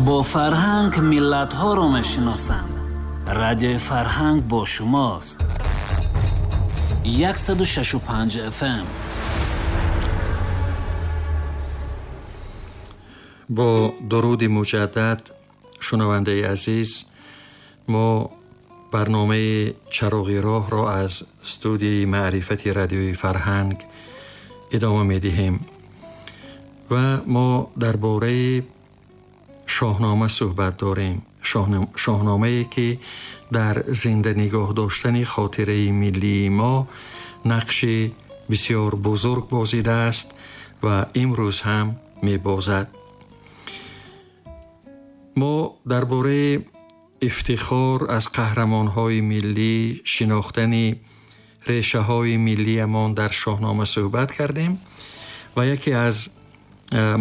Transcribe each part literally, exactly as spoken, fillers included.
Бо фарҳанг миллатҳоро мешиносанд. Радиои Фарҳанг бо шумост. яксаду шашу панҷ эф эм. Бо дуруди муҷаддад, шунавандаи азиз, мо барномаи Чароғи роҳро аз студияи маърифати радиои Фарҳанг идома медиҳем ва мо дар бораи шоҳнома суҳбат дорем. Шоҳномае ки дар зинда нигоҳ доштани хотираи миллии мо нақши бисёр бузург бозидааст ва имрӯз ҳам мебозад. Мо дар бораи ифтихор аз қаҳрамонҳои миллӣ, шинохтани решаҳои миллиамон дар шоҳнома суҳбат кардем ва яке аз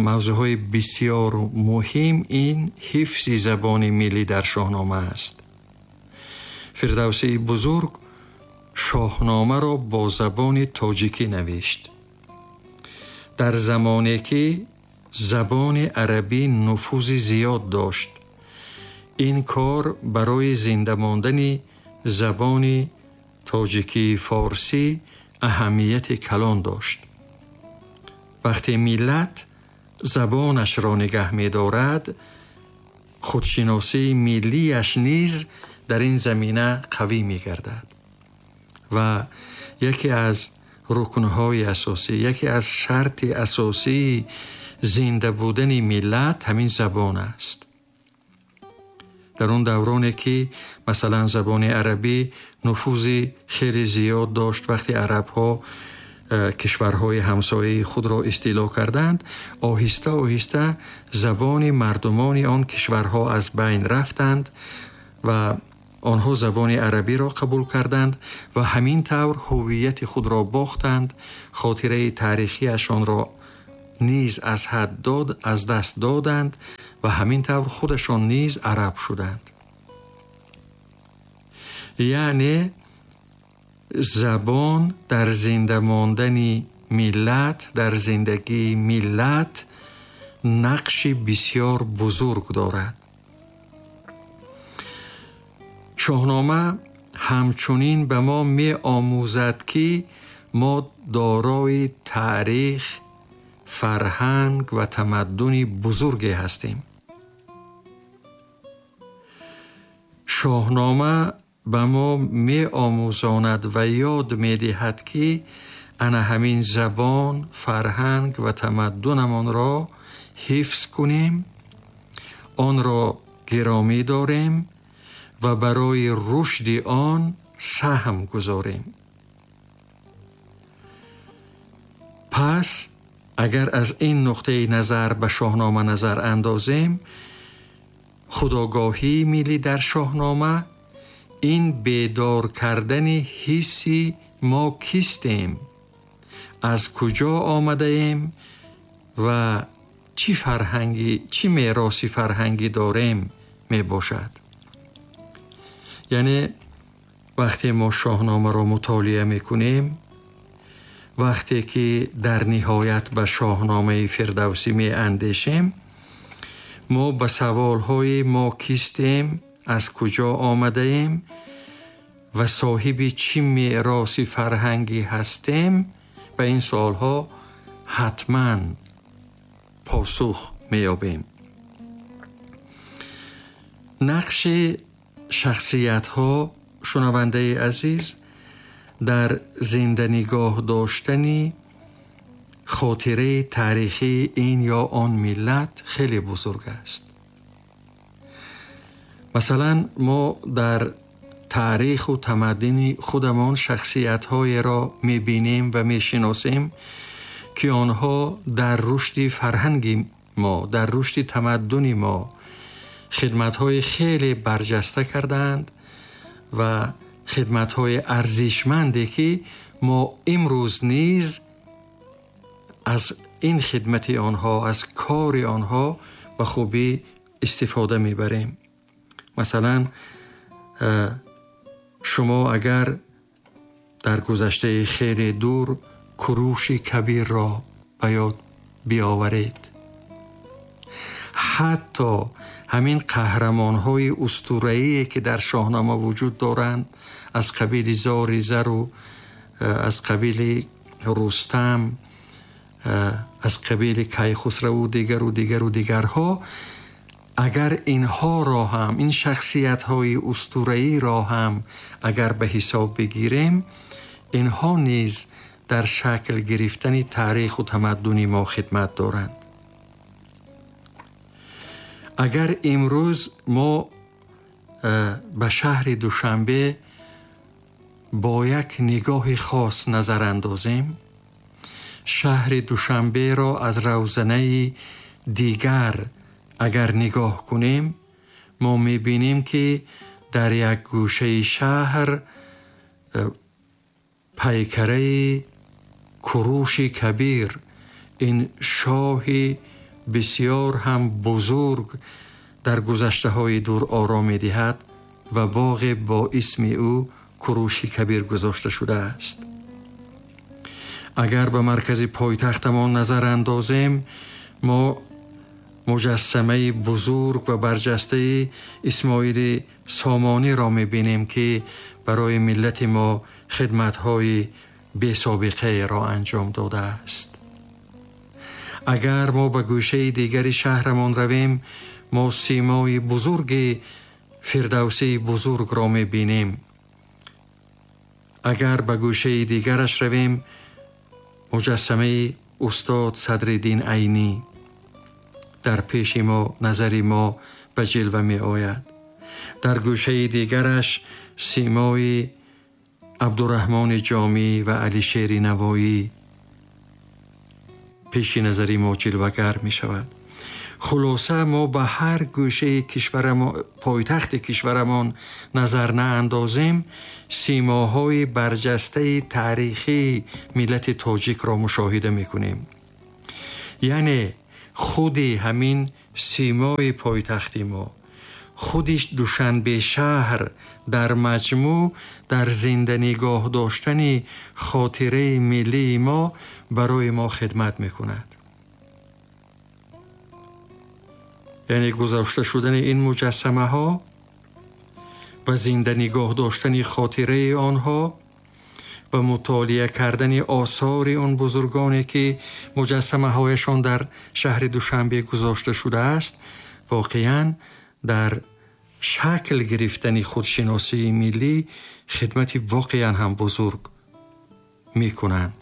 мавзӯъҳои бисёр муҳим ин ҳифзи забони миллӣ дар шоҳнома аст. Фирдавсии бузург шоҳномаро бо забони тоҷикӣ навишт. Дар замоне ки забони арабӣ нуфузи зиёд дошт, ин кор барои зинда мондани забони тоҷикии форсӣ аҳамияти калон дошт. Вақте миллат забонашро нигаҳ медорад, худшиносии миллиаш низ дар ин замина қавӣ мегардад ва яке аз рукнҳои асосӣ, яке аз шарти асосии зинда будани миллат ҳамин забон аст. Дар он давроне ки масалан забони арабӣ нуфузи хеле зиёд дошт, вақте арабҳо кишварҳои ҳамсояи худро истило карданд, оҳиста оҳиста забони мардумони он кишварҳо аз байн рафтанд ва онҳо забони арабиро қабул карданд ва ҳамин тавр ҳуввияти худро бохтанд, хотираи таърихиашонро низ аз ҳад дод, аз даст доданд ва ҳамин тавр худашон низ араб шуданд. Яъне забон дар зинда мондани миллат, дар зиндагии миллат нақши бисёр бузург дорад. Шоҳнома ҳамчунин ба мо меомӯзад, ки мо дорои таърих, фарҳанг ва тамаддуни бузурге ҳастем. Шоҳнома ба мо меомӯзонад ва ёд медиҳад, ки ана ҳамин забон, фарҳанг ва тамаддунамонро ҳифз кунем, онро гиромӣ дорем ва барои рушди он саҳм гузорем. Пас агар аз ин нуқтаи назар ба шоҳнома назар андозем, худогоҳии миллӣ дар шоҳнома ин бедор кардани ҳисси мо кистем, аз куҷо омадаем ва чӣ фарҳангӣ, чӣ мероси фарҳангӣ дорем мебошад. Яъне вақте мо шоҳномаро мутолиа мекунем, вақте ки дар ниҳоят ба шоҳномаи Фирдавсӣ меандешем, мо ба саволҳои мо кистем, аз куҷо омадаем ва соҳиби чӣ мероси фарҳангӣ ҳастем, ба ин саволҳо ҳатман посух меёбем. Нақши шахсиятҳо, шунавандаи азиз, дар зинда нигоҳ доштани хотираи таърихии ин ё он миллат хеле бузург аст. Масалан, мо дар таъриху тамаддуни худамон шахсиятҳоеро мебинем ва мешиносем, ки онҳо дар рушди фарҳанги мо, дар рушди тамаддуни мо хидматҳои хеле барҷаста кардаанд ва хидматҳои арзишманде ки мо имрӯз низ аз ин хидмати онҳо, аз кори онҳо ба хубӣ истифода мебарем. Масалан, шумо агар дар гузаштаи хеле дур Куруши Кабирро ба ёд биёваред, ҳатто ҳамин қаҳрамонҳои устураие ки дар Шоҳнома вуҷуд доранд, аз қабили Зори Зар ва аз қабили Рустам, аз қабили Кайхусрав ва дигар ва дигар ва дигарҳо, агар инҳоро ҳам, ин шахсиятҳои устураиро ҳам агар ба ҳисоб бигирем, инҳо низ дар шакл гирифтани таърих ва тамаддуни мо хидмат доранд. Агар имрӯз мо ба шаҳри Душанбе бо як нигоҳи хос назар андозем, шаҳри Душанберо аз равзанаи дигар агар нигоҳ кунем, мо мебинем ки дар як гӯшаи шаҳр пайкараи Куруши Кабир, ин шоҳи бисёр ҳам бузург, дар гузаштаҳои дур ором медиҳад ва боғе бо исми ӯ Куруши Кабир гузошта шудааст. Агар ба маркази пойтахтамон назар андозем, мо муҷассамаи бузург ва барҷастаи Исмоили Сомониро мебинем ки барои миллати мо хидматҳои бесобиқаеро анҷом додааст. Агар мо ба гӯшаи дигари шаҳрамон равем, мо симои бузурги Фирдавсии бузургро мебинем. Агар ба гӯшаи дигараш равем, муҷассамаи устод Садриддин Айнӣ дар пеши мо, назари мо ба ҷилва меояд. Дар гӯшаи дигараш симои Абдураҳмони Ҷомӣ ва Алишери Навоӣ пеши назари мо ҷилвагар мешавад. Хулоса, мо ба ҳар гӯшаи кишварамон, пойтахти кишварамон назар наандозем, симоҳои барҷастаи таърихии миллати тоҷикро мушоҳида мекунем. Яъне худи ҳамин симои пойтахти мо, худи Душанбе шаҳр дар маҷмӯъ дар зинда нигоҳ доштани хотираи миллии мо барои мо хидмат мекунад. Яъне гузошта шудани ин муҷассамаҳо ва зинда нигоҳ доштани хотираи онҳо ва мутолиа кардани осори он бузургоне ки муҷассамаҳояшон дар шаҳри Душанбе гузошта шудааст, воқеан дар шакл гирифтани худшиносии миллӣ хидмати воқеан ҳам бузург мекунанд.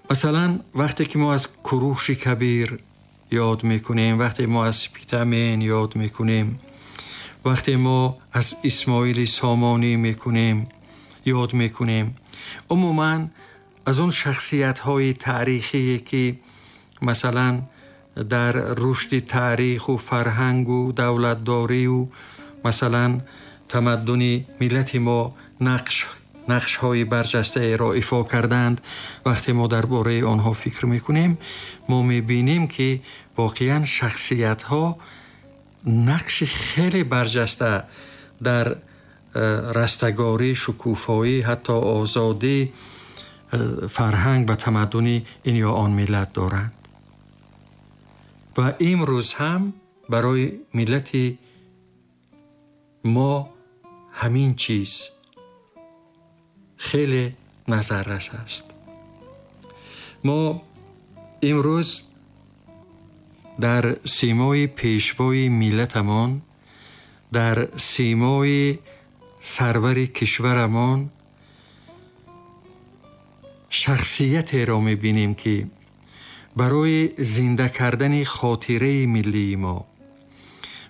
Масалан, вақте ки мо аз Куруши Кабир ёд мекунем, вақте мо аз Спитамен ёд мекунем, вақте мо аз Исмоили Сомонӣ мекунем, ёд мекунем, умуман аз он шахсиятҳои таърихие ки масалан дар рушди таъриху фарҳангу давлатдорию масалан тамаддуни миллати мо нақш нақшҳои барҷастаеро ифо карданд, вақте мо дар бораи онҳо фикр мекунем, мо мебинем ки воқеан шахсиятҳо нақши хеле барҷаста дар растагорӣ, шукуфоӣ, ҳатто озодӣ, фарҳанг ва тамаддуни ин ё он миллат доранд. Ва имрӯз ҳам барои миллати мо ҳамин чиз хеле назаррас аст. Мо имрӯз дар симои пешвои миллатамон, дар симои сарвари кишварамон шахсиятеро мебинем ки барои зинда кардани хотираи миллии мо,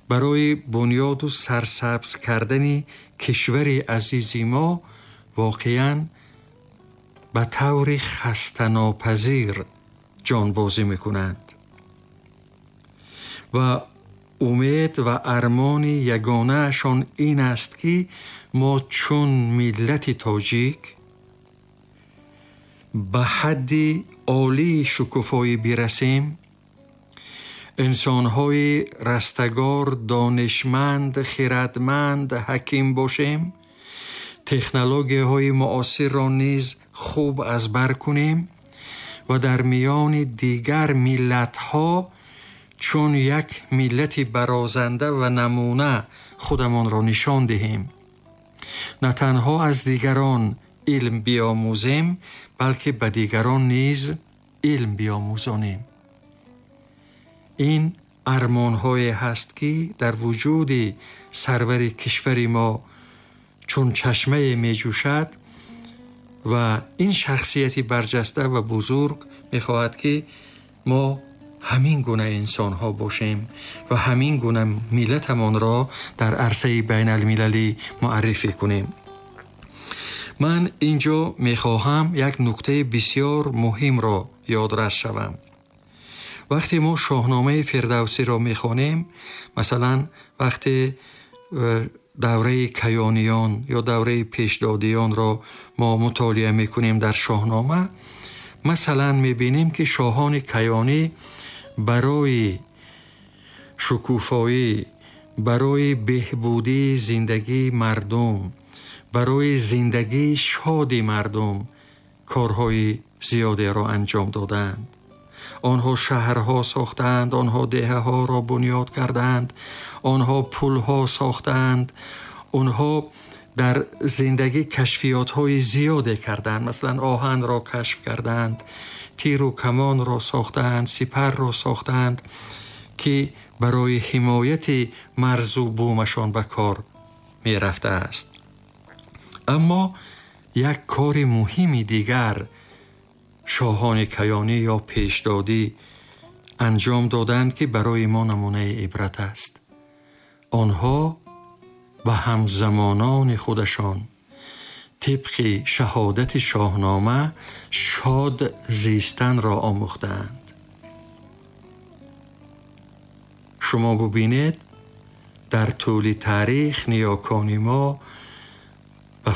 барои бунёду сарсабз кардани кишвари азизи мо воқеан ба таври хастанопазир ҷонбозӣ мекунанд ва умед ва армони ягонаашон ин аст ки мо чун миллати тоҷик ба ҳадди олии шукуфоӣ бирасем, инсонҳои растагор, донишманд, хирадманд, ҳаким бошем, технологияҳои муосирро низ хуб аз бар кунем ва дар миёни дигар миллатҳо чун як миллати барозанда ва намуна худамонро нишон диҳем. На танҳо аз дигарон илм биомӯзем, балки ба дигарон низ илм биомӯзонем. Ин армонҳое ҳаст, ки дар вуҷуди сарвари кишвари мо чун чашмае меҷӯшад ва ин шахсияти барҷаста ва бузург мехоҳад, ки мо ҳамин гуна инсонҳо бошем ва ҳамин гуна миллатамонро дар арсаи байналмилалӣ муаррифӣ кунем. Ман инҷо мехоҳам як нуктаи бисёр муҳимро ёдрас шавам. Вақте мо Шоҳномаи Фирдавсиро мехонем, масалан вақте давраи каёниён ё давраи пешдодиёнро мо мутолиа мекунем дар Шоҳнома, масалан мебинем, ки шоҳони каёнӣ барои шукуфоӣ, барои беҳбудии зиндагии мардум, барои зиндагии шоди мардум корҳои зиёдеро анҷом додаанд. Онҳо шаҳрҳо сохтаанд, онҳо деҳаҳоро бунёд кардаанд, онҳо пулҳо сохтаанд, онҳо дар зиндагӣ кашфиётҳои зиёде карданд. Масалан оҳанро кашф карданд, тиру камонро сохтаанд, сипарро сохтаанд, ки барои ҳимояти марзу бумашон ба кор мерафтааст. Аммо як кори муҳими дигар шоҳони каёнӣ ё пешдодӣ анҷом доданд, ки барои мо намунаи ибрат аст. Онҳо ба ҳамзамонони худашон тибқи шаҳодати Шоҳнома шод зистанро омӯхтаанд. Шумо бубинед, дар тӯли таърих ниёкони мо ба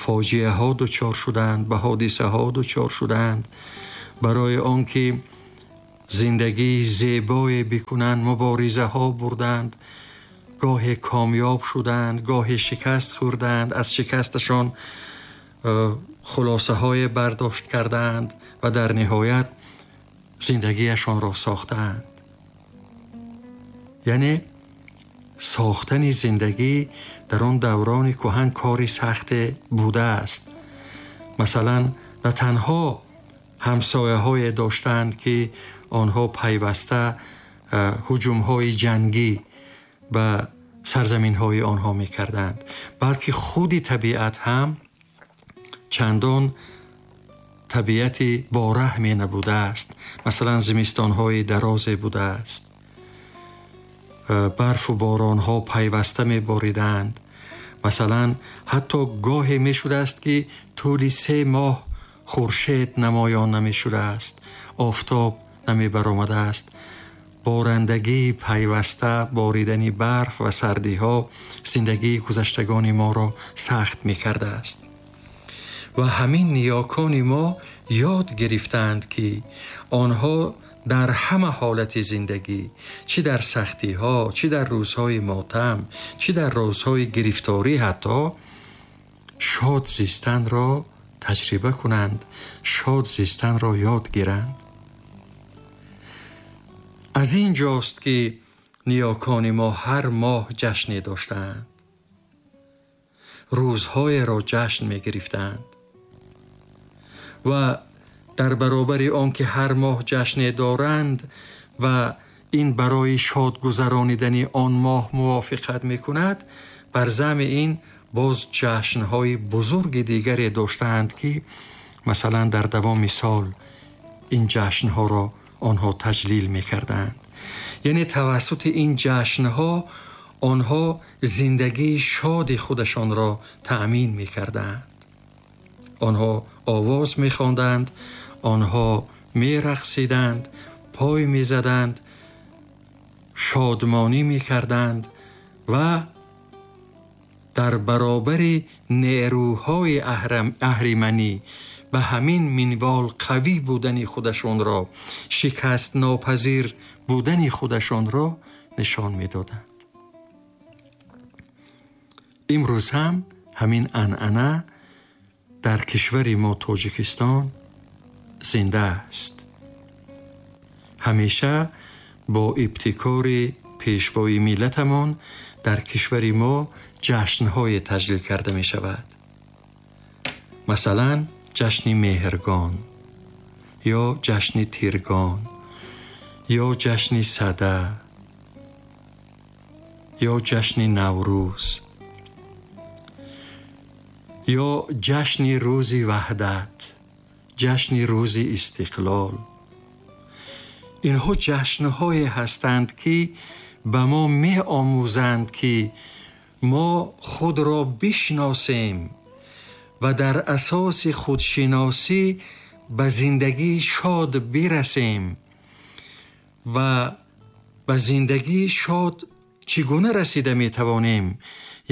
фоҷиаҳо дучор шуданд, ба ҳодисаҳо дучор шуданд. Барои он ки зиндагии зебое бикунанд, муборизаҳо бурданд, гоҳе комёб шуданд, гоҳе шикаст хӯрданд, аз шикасташон хулосаҳое бардошт карданд ва дар ниҳоят зиндагиашонро сохтаанд. Яъне сохтани зиндагӣ дар он даврони кӯҳан кори сахте будааст. Масалан, на танҳо ҳамсояҳое доштанд, ки онҳо пайваста ҳуҷумҳои ҷангӣ ба сарзаминҳои онҳо мекарданд, балки худи табиат ҳам чандон табиати бораҳме набудааст. Масалан, зимистонҳои дарозе будааст, барфу боронҳо пайваста мебориданд. Масалан, ҳатто гоҳе мешудааст, ки тӯли се моҳ хуршед намоён намешудааст, офтоб намебаромадааст. Борандагии пайваста, боридани барф ва сардиҳо зиндагии гузаштагони моро сахт мекардааст. Ва ҳамин ниёкони мо ёд гирифтаанд, ки онҳо дар ҳама ҳолати зиндагӣ, чӣ дар сахтиҳо, чӣ дар рӯзҳои мотам, чӣ дар рӯзҳои гирифторӣ, ҳатто шод зистанро таҷриба кунанд, шод зистанро ёд гиранд. Аз ин ҷост, ки ниёкони мо ҳар моҳ ҷашне доштаанд, рӯзҳоеро ҷашн мегирифтанд ва дар баробари он ки ҳар моҳ ҷашне доранд ва ин барои шод гузаронидани он моҳ мувофиқат мекунад, бар зами ин боз ҷашнҳои бузурги дигаре доштаанд, ки масалан дар давоми сол ин ҷашнҳоро онҳо таҷлил мекарданд. Яъне тавассути ин ҷашнҳо онҳо зиндагии шоди худашонро таъмин мекарданд. Онҳо овоз мехонданд, онҳо мерақсиданд, пой мезаданд, шодмонӣ мекарданд ва дар баробари нерӯҳои аҳриманӣ ба ҳамин минвол қавӣ будани худашонро, шикастнопазир будани худашонро нишон медоданд. Имрӯз ҳам ҳамин анъана дар кишвари мо Тоҷикистон зинда аст. Ҳамеша бо ибтикори пешвои миллатамон дар кишвари мо ҷашнҳое таҷлил карда мешавад. Масалан, ҷашни Меҳргон ё ҷашни Тиргон ё ҷашни Сада ё ҷашни Наврӯз ё ҷашни Рӯзи Ваҳдат, ҷашни Рӯзи Истиқлол. Инҳо ҷашнҳое ҳастанд, ки ба мо меомӯзанд, ки мо худро бишносем ва дар асоси худшиносӣ ба зиндагии шод бирасем. Ва ба зиндагии шод чӣ гуна расида метавонем?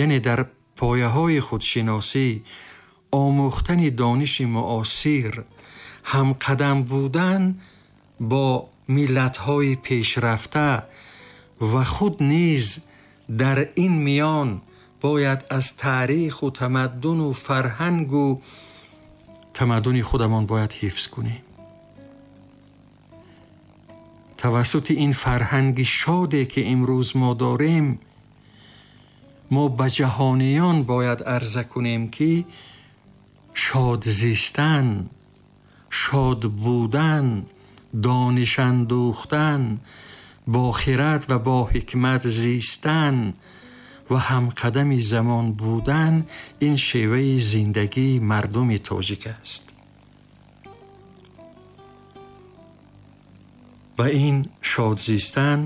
Яъне дар пояҳои худшиносӣ, омӯхтани дониши муосир, ҳамқадам будан бо миллатҳои пешрафта ва худ низ дар ин миён бояд аз таъриху тамаддуну фарҳангу тамаддуни худамон бояд ҳифз кунем. Тавассути ин фарҳанги шоде, ки имрӯз мо дорем, мо ба ҷаҳониён бояд арза кунем, ки шод зистан, шод будан, дониш андӯхтан, бо хирад ва бо ҳикмат зистан ва ҳамқадами замон будан ин шеваи зиндагии мардуми тоҷик аст. Ва ин шод зистан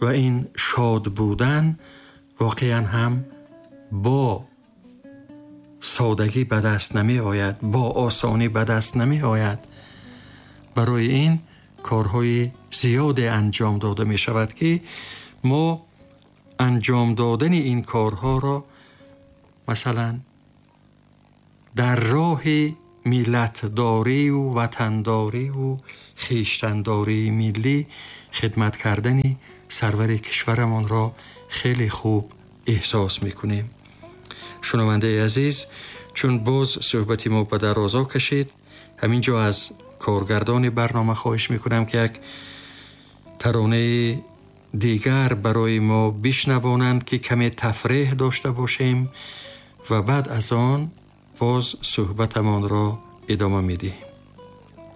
ва ин шод будан воқеан ҳам бо содагӣ ба даст намеояд, бо осонӣ ба даст намеояд. Барои ин корҳои зиёде анҷом дода мешавад, ки мо анҷом додани ин корҳоро масалан дар роҳи миллатдорию ватандорию хештандории миллӣ хидмат кардани сарвари кишварамонро хеле хуб эҳсос мекунем. Шунавандаи азиз, чун боз суҳбати мо ба дарозо кашид, ҳамин ҷо аз коргардони барнома хоҳиш мекунам, ки як таронаи дигар барои мо бишнавонанд, ки каме тафреҳ дошта бошем ва баъд аз он боз суҳбатамонро идома медиҳем.